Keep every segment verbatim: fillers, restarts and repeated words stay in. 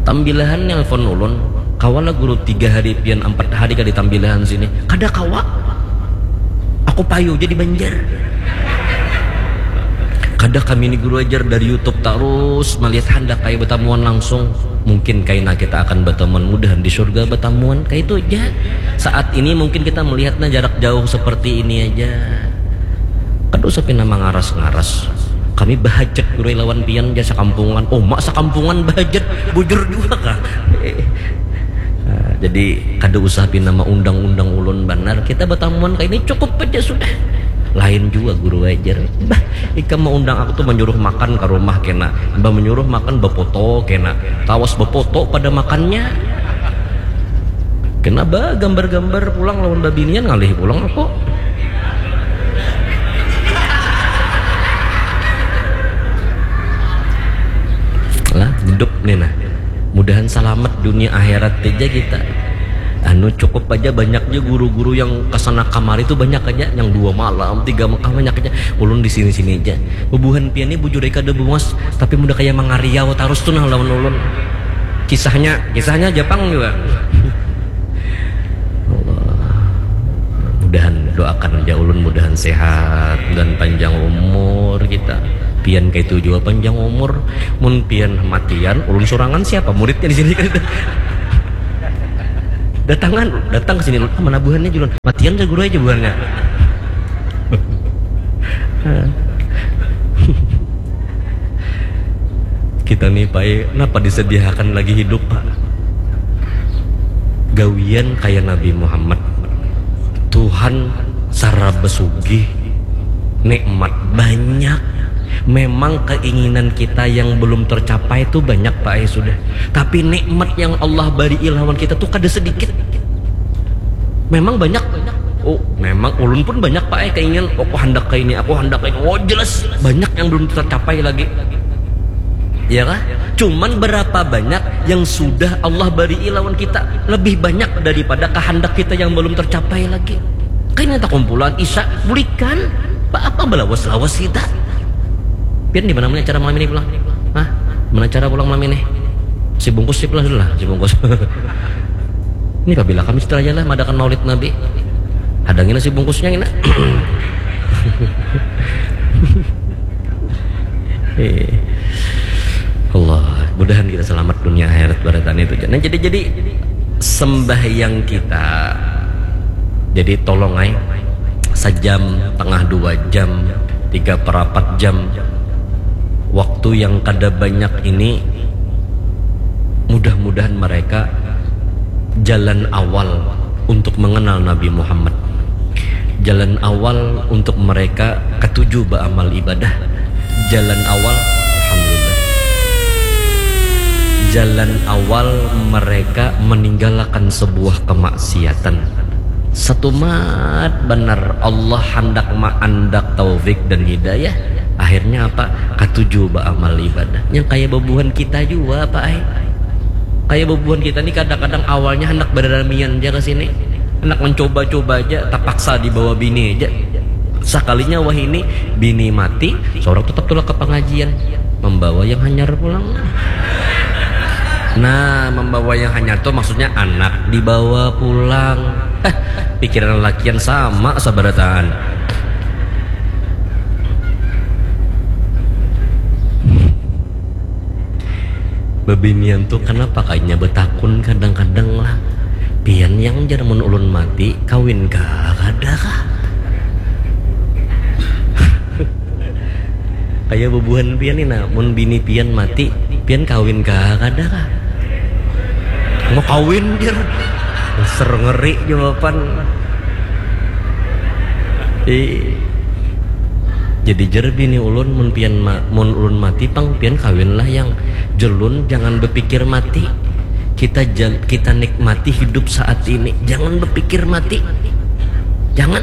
Tambilahan nelpon ulun, "Kawa lah guru tiga hari pian, ampat hari kada tambilahan sini." Kada kawa. Aku payu ja di Banjar. Kada kami ni guru ajar dari YouTube tarus malihat handak kaya batamuan langsung. Mungkin kaina kita akan batamuan mudahan di surga batamuan kaitu ja. Saat ini mungkin kita melihatnya jarak jauh seperti ini aja. Kada usah pina mangaras-ngaras. Kami bahajat guru lawan pian ja sakampungan. Uma sakampungan bahajat. Bujur jua kah? Nah, jadi kada usah pina maundang-undang ulun banar. Kita batamuan kaini cukup aja sudah. Lain jua guru ajar. Bah, ikam maundang aku tu manyuruh makan ka rumah kena. Bah manyuruh makan bapoto kena. Tawas bapoto pada makannya. Kena ba gambar-gambar pulang lawan babinian ngalih pulang aku. Lah, hidup nih nah. Mudahan salamat dunia akhirat aja kita. Anu cukup aja banyak aja guru-guru yang kesana kamari tuh banyak aja, yang dua malam, tiga Mekah banyak aja. Ulun di sini-sini aja. Bubuhan pian nih bujur kada bungas, tapi mudah kayak mangariau terus tuh nah lawan ulun. Kisahnya, kisahnya Jepang juga. Allah. Mudahan doakan aja ulun mudahan sehat dan panjang umur kita. Pian kaitu jua panjang umur. Mun pian matian, ulun sorangan siapa muridnya di sini kan? Datangan, datang ke sini, "Ah, mana buhannya, Julun?" "Matian, ja guru aja buhannya." Kita nih, Pak, kenapa disediakan lagi hidup, Pak? Gawian kayak Nabi Muhammad. Tuhan saraba sugih, nikmat banyak. Memang keinginan kita yang belum tercapai itu banyak, Pak, ya sudah. Tapi nikmat yang Allah bari lawan kita tuh kada sedikit. Memang banyak. Oh, memang ulun pun banyak, Pak, eh, keinginan. Oh, aku hendak kayak ini, aku hendak kayak ini. Oh, jelas banyak yang belum tercapai lagi. Ya kah? Cuman berapa banyak yang sudah Allah bari lawan kita? Lebih banyak daripada kehendak kita yang belum tercapai lagi. Kayaknya tak kumpulan Isa, bulikan. Apa belawas-lawas kita? Pian di mana mana acara malam ini pulang? Hah? Mana acara pulang malam ini? Si bungkus sip lah dulu lah, si bungkus. Ini pabila kami setelah jalan madakan maulid Nabi. Hadangin si bungkusnya ini. Eh. Allah, mudahan kita selamat dunia akhirat barataan itu. Nah, jadi jadi sembahyang kita jadi tolong ay sajam tengah dua jam tiga perapat jam waktu yang kada banyak ini mudah-mudahan mereka jalan awal untuk mengenal Nabi Muhammad. Jalan awal untuk mereka ketujuh beramal ibadah. Jalan awal, alhamdulillah. Jalan awal mereka meninggalkan sebuah kemaksiatan. Setumat benar Allah hendak maandak taufik dan hidayah. Akhirnya apa? Ketujuh beramal ibadah. Yang kayak bebuhan kita juga apa ay? Kayak bebuhan kita nih kadang-kadang awalnya hendak beramian aja ke sini. Hendak mencoba-coba aja, terpaksa dibawa bini aja. Sekalinya wah ini bini mati, seorang tetap tulak ke pengajian. Membawa yang hanyar pulang. Nah, membawa yang hanyar tuh maksudnya anak dibawa pulang. Eh, pikiran lakian sama sabarataan. Bebinian tuh kenapa kayaknya betakun kadang-kadang lah. Pian yang jar mun ulun mati kawin kah kada kah? Kayak bubuhan pian nih nah, mun bini pian mati, pian kawin kah kada kah? Mau kawin jar. Ser ngeri jawaban. Jadi jar bini ulun mun pian ma, mun ulun mati pang pian kawinlah yang jelun jangan berpikir mati. Kita jal, kita nikmati hidup saat ini. Jangan berpikir mati. Jangan.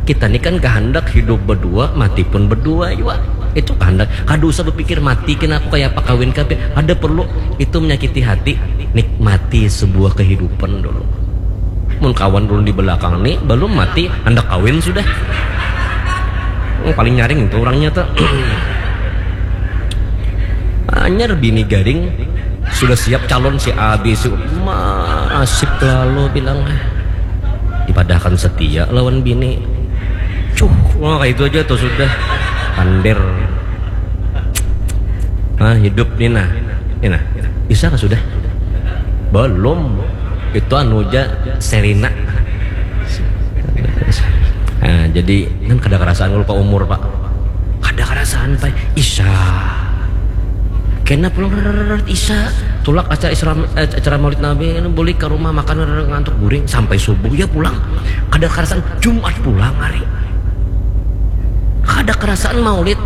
Kita ini kan kehendak hidup berdua, mati pun berdua juga. Itu kehendak. Kada usah berpikir mati kena aku kayak apa kawin kape. Ada perlu itu menyakiti hati. Nikmati sebuah kehidupan dulu. Mun kawan ulun di belakang nih belum mati, hendak kawin sudah. Hmm, paling nyaring itu orangnya tuh. Anyar bini garing Sudah siap calon si A, B, C, masih lalu bilang, eh, dipadahkan setia lawan bini. Cuh, wah, itu aja tuh sudah. Pandir. Nah, hidup nih, nah. Ini, nah. Bisa kah sudah? Belum. Itu anu aja, Serina. Nah, jadi kan kada kerasaan kalau ke umur, Pak. Kada kerasaan, Pak. Isa. Kena pulang, rrrr, Isa. Tulak acara Isra, eh, acara Maulid Nabi, ini boleh ke rumah makan, rrrr, ngantuk guring sampai subuh ya pulang. Kada kerasaan Jumat pulang hari. Kada kerasaan Maulid,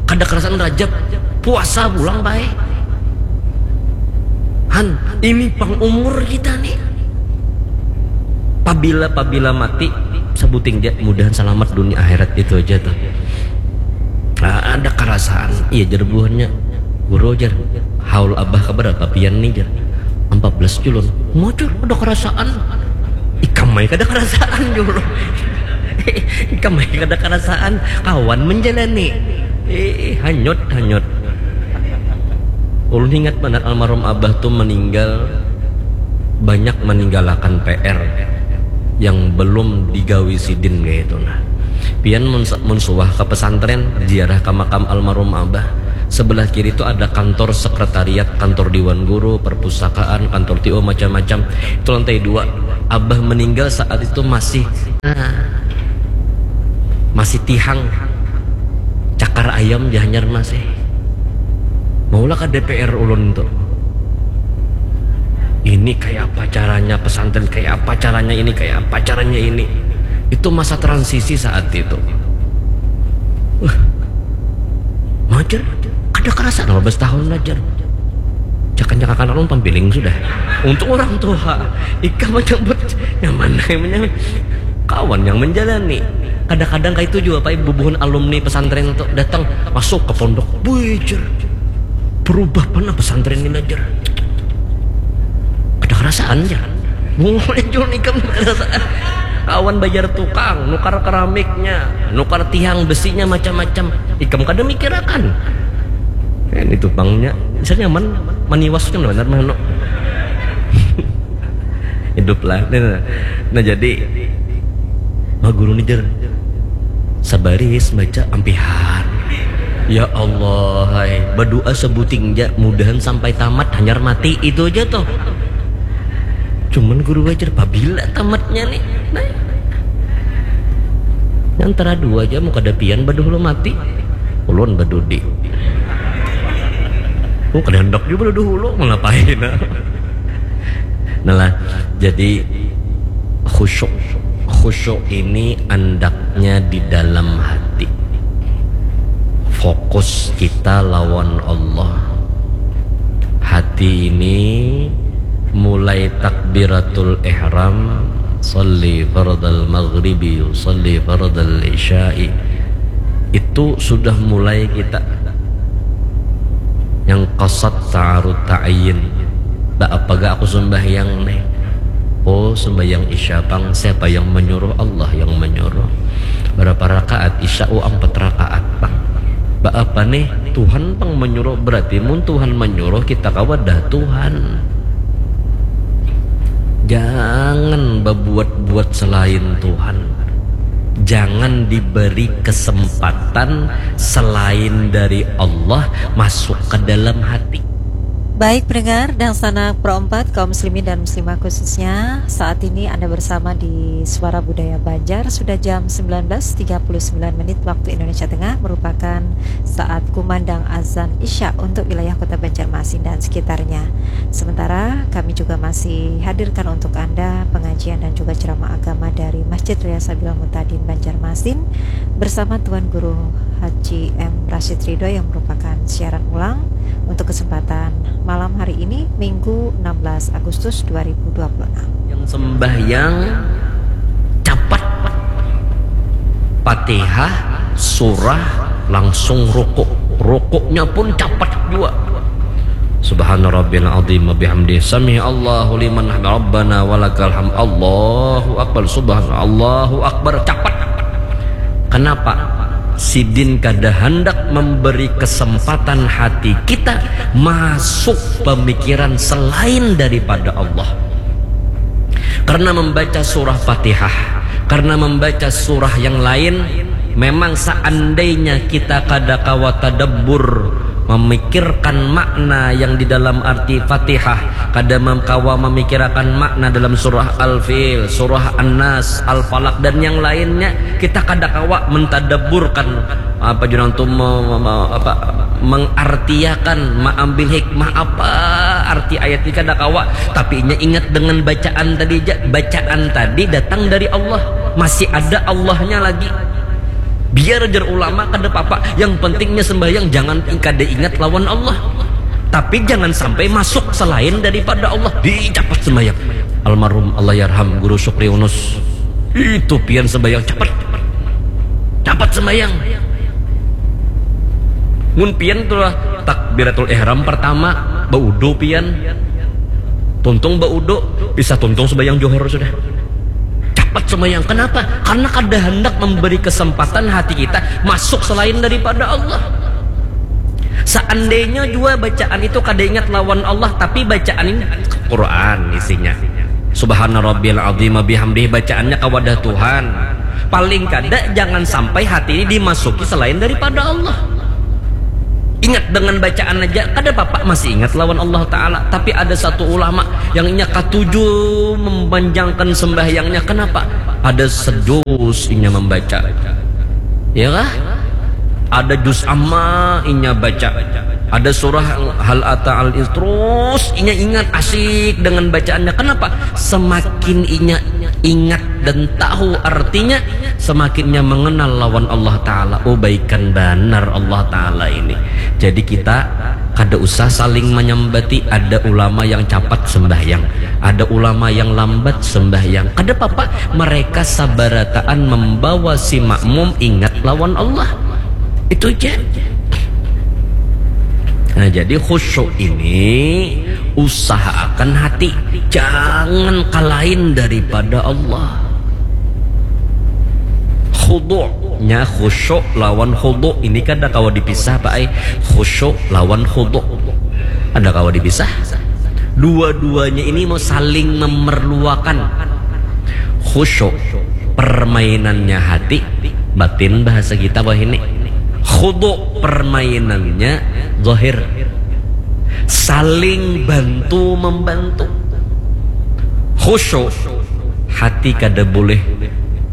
kada kerasaan Rajab, puasa pulang baik. Han, ini pang umur kita nih. Pabila, pabila mati, sebuting ja, mudahan selamat dunia akhirat, itu aja tuh. Ah, ada kerasaan, iya, jer buhannya. Guru, jer, haul abah keberapa pian nih, jer? Empat belas, culun. Mujur, ada kerasaan. Ikam ai kada kerasaan, culun. Ikam ai kada kerasaan. Kawan menjalani. Eh, hanyut, hanyut. Ulun ingat banar almarhum abah tuh meninggal, banyak meninggalkan P R yang belum digawi sidin kayak itu, nah. Pian mun, mun suah ke pesantren, ziarah ke makam almarhum abah. Sebelah kiri itu ada kantor sekretariat, kantor dewan guru, perpustakaan, kantor T O, macam-macam. Itu lantai dua. Abah meninggal saat itu masih, nah, masih tihang. Cakar ayam di Banjarmasin. Maulah ke D P R ulun tuh. Ini kayak apa caranya pesantren, kayak apa caranya ini, kayak apa caranya ini. Itu masa transisi saat itu. Wah, majar, kada kerasa lima belas tahun ajar. Jangan-jangan akan ulun pampiling sudah. Untuk orang tua, ikam aja buat nyaman, nyaman. Kawan yang menjalani. Kadang-kadang kayak itu juga, Pak, bubuhan alumni pesantren tuh datang masuk ke pondok. Bujar. Berubah mana pesantren ini, jer? Kada kerasaan, jer. Mulai jual ikam kada kerasaan. Kawan bayar tukang, nukar keramiknya, nukar tiang besinya, macam-macam. Ikam kada mikirakan. Ini tuh bangnya, bisa nyaman, maniwas kan benar mah, no. Hidup lah. Nah, nah, nah, jadi, ma guru nih, jer, sabaris baca ampihan. Ya Allah, hai, berdoa sebuting ja, mudahan sampai tamat, hanyar mati, itu aja tuh. Cuman guru wajar, pabila tamatnya nih? Nah, antara dua aja, mau kada pian baduhulu mati, ulun badudi. Oh, kada hendak juga baduhulu, mau ngapain? Nah lah, jadi khusyuk. Khusyuk ini andaknya di dalam hati. Fokus kita lawan Allah. Hati ini mulai takbiratul ihram, salli fardal maghribi, salli fardal isya'i. Itu sudah mulai kita yang qasad ta'arud ta'yin. Ba apa ga aku sembahyang nih? Oh, sembahyang isya pang. Siapa yang menyuruh? Allah yang menyuruh. Berapa rakaat isya? Oh, empat rakaat pang. Ba apa nih? Tuhan pang menyuruh. Berarti mun Tuhan menyuruh, kita kawa dah Tuhan. Jangan berbuat-buat selain Tuhan. Jangan diberi kesempatan selain dari Allah masuk ke dalam hati. Baik pendengar dan sanak Pro empat, kaum muslimin dan muslimah khususnya, saat ini Anda bersama di Suara Budaya Banjar. Sudah jam sembilan belas tiga puluh sembilan menit waktu Indonesia Tengah, merupakan saat kumandang azan Isya untuk wilayah Kota Banjarmasin dan sekitarnya. Sementara kami juga masih hadirkan untuk Anda pengajian dan juga ceramah agama dari Masjid Raya Sabilal Mutadin Banjarmasin bersama Tuan Guru Haji M Rashid Ridho yang merupakan siaran ulang untuk kesempatan malam hari ini, Minggu enam belas Agustus dua ribu dua puluh enam. Yang sembahyang capat, Fatihah, surah, langsung rukuk. Rukuknya pun capat juga. Subhana rabbil azim wa bihamdi, sami Allahu liman hamid, rabbana walakal hamd, Allahu akbar, subhana, Allahu akbar, capat. Kenapa? Sidin kada handak memberi kesempatan hati kita masuk pemikiran selain daripada Allah. Karena membaca surah Fatihah, karena membaca surah yang lain, memang seandainya kita kada kawa tadabbur, memikirkan makna yang di dalam arti Fatihah, kada mem-, kawa memikirakan makna dalam surah Al-Fil, surah An-Nas, Al-Falaq, dan yang lainnya, kita kada kawa mentadabburkan apa jurang tu me-, me-, me-, apa, mengartiakan, maambil hikmah apa arti ayat ini kada kawa, tapi inya ingat dengan bacaan tadi ja, bacaan tadi datang dari Allah, masih ada Allahnya lagi. Biar jar ulama kada papa, yang pentingnya sembahyang, jangan kada ingat lawan Allah. Tapi jangan sampai masuk selain daripada Allah. Dicapat sembahyang. Almarhum Allahyarham Guru Sukri Unus. Itu pian sembahyang capat. Capat sembahyang. Mun pian tuh lah takbiratul ihram pertama, baudu pian. Tuntung baudu, bisa tuntung sembahyang johor sudah. Capat sembahyang. Kenapa? Karena kada hendak memberi kesempatan hati kita masuk selain daripada Allah. Seandainya jua bacaan itu kada ingat lawan Allah, tapi bacaan ini Quran isinya. Subhana rabbiyal azim wa bihamdih, bacaannya ka wadah Tuhan. Paling kada jangan sampai hati ini dimasuki selain daripada Allah. Ingat dengan bacaan aja, kada apa-apa, masih ingat lawan Allah Ta'ala. Tapi ada satu ulama yang inya katuju mempanjangkan sembahyangnya. Kenapa? Ada sedus inya membaca. Ya kah? Ada juz amma inya baca. Ada surah Hal Ata Al Is. Terus inya ingat asik dengan bacaannya. Kenapa? Semakin inya ingat dan tahu artinya, semakinnya mengenal lawan Allah Ta'ala. Oh, baikan banar Allah Ta'ala ini. Jadi kita kada usah saling menyambati. Ada ulama yang capat sembahyang, ada ulama yang lambat sembahyang. Kada apa-apa, mereka sabarataan membawa si makmum ingat lawan Allah. Itu aja. Nah, jadi khusyuk ini usahakan hati, jangan kalain daripada Allah. Khudu'nya khusyuk lawan khudu' ini kada kawa dipisah, Pak ai. Khusyuk lawan khudu' kada kawa dipisah. Dua-duanya ini mau saling memerluakan. Khusyuk permainannya hati, batin bahasa kita wahini. Khudu' permainannya zahir. Saling bantu membantu. Khusyuk, hati kada boleh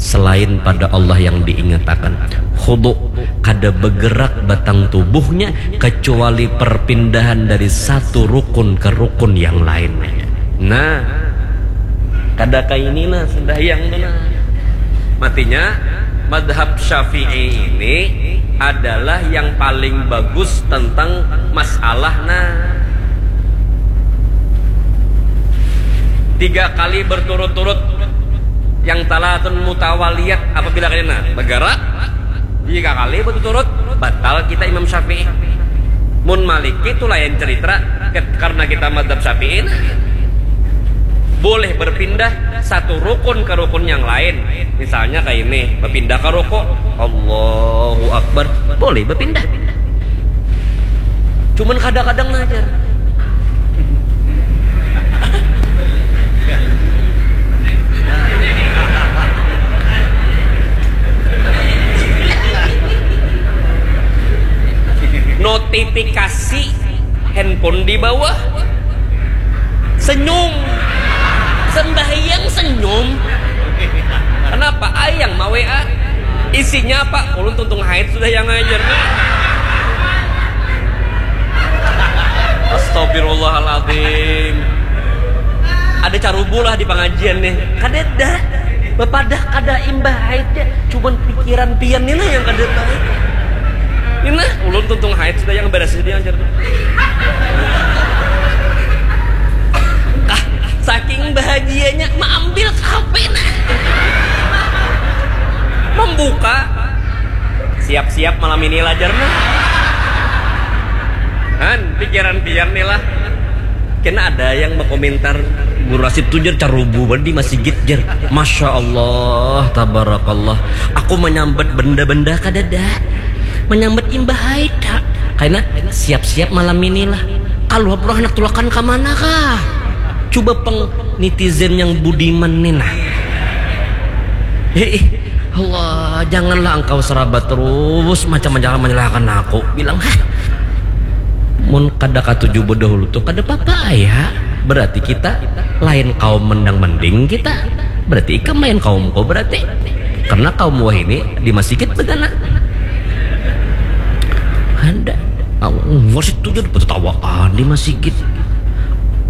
selain pada Allah yang diingatakan. Khudu', kada bergerak batang tubuhnya kecuali perpindahan dari satu rukun ke rukun yang lainnya. Nah, kada kaini nah sembahyang tu nah. Matinya, madhab Syafi'i ini adalah yang paling bagus tentang masalah nah. Tiga kali berturut-turut yang talatun mutawaliyat apabila kena nah, bergerak tiga kali berturut-turut, batal kita Imam Syafi'i. Mun Maliki itu lain cerita, ket-, karena kita madhab Syafi'i nah. Boleh berpindah satu rukun ke rukun yang lain. Misalnya kayak ini, berpindah ke ruku, Allahu Akbar, boleh berpindah. Cuman kadang-kadang nah, jar. Notifikasi handphone di bawah. Senyum. Sembahyang senyum. Kenapa? Ayang ma W A. Isinya apa? Ulun tuntung haid sudah yang ngajar. Astagfirullahaladzim. Ada carubu lah di pengajian nih. Kadeda. Bapadah kada imbah haidnya. Cuman pikiran pian ni lah yang kada baik. Ini nah, ulun tuntung haid sudah yang beres sudah yang jar. Ah, saking bahagianya maambil H P nah. Membuka. Siap-siap malam ini lah jar nah. Han, pikiran pian ni lah. Kena ada yang berkomentar, Guru Rasid tu jer carubu banget di masigit jer. Masya Allah, tabarakallah. Aku menyambat benda-benda kadada. Menyambat imbah haida. Karena siap-siap malam inilah. Kalau pernah anak tulakan ke mana kah? Coba peng netizen yang budiman nih nah. Hei, Allah, janganlah engkau serabut terus macam-macam menyalahkan aku. Bilang, hah? Mun kada katuju bedahulu tuh kada apa-apa ya. Berarti kita lain kaum mendang mending kita. Berarti ikam lain kaumku berarti. Karena kaum wahini di masigit begana. Ada. Aku masih tuh jadi petawaan di masigit.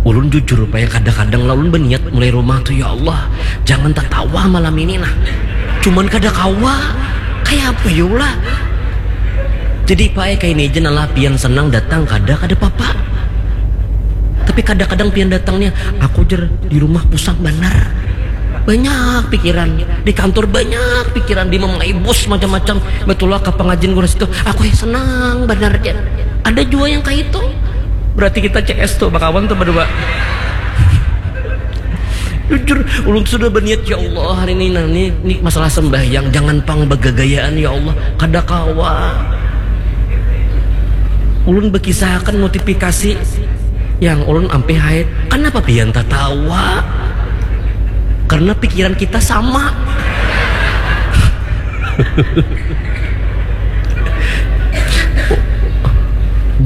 Ulun jujur paya kadang-kadang lah ulun berniat mulai rumah tuh ya Allah jangan tertawa malam ini nah. Cuman kada kawa. Kayak apa ya lah. Jadi pae kayak ini aja nalah pian senang datang kada kada papa. Tapi kadang-kadang pian datangnya aku jer di rumah pusang benar. Banyak pikiran di kantor banyak pikiran di memai bos macam-macam betul ke pengajian gue situ aku senang benar aja. Ada juga yang kayak itu. Berarti kita C S tuh bakawan tuh berdua. Jujur, ulun sudah berniat ya Allah hari ini nah ini, ini masalah sembahyang jangan pang begagayaan ya Allah kada kawa. Ulun berkisahkan notifikasi yang ulun ampe haid. Kenapa pian tertawa? Karena pikiran kita sama.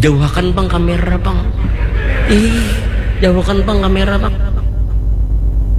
Jauhakan bang kamera bang. Ih, jauhakan bang kamera bang.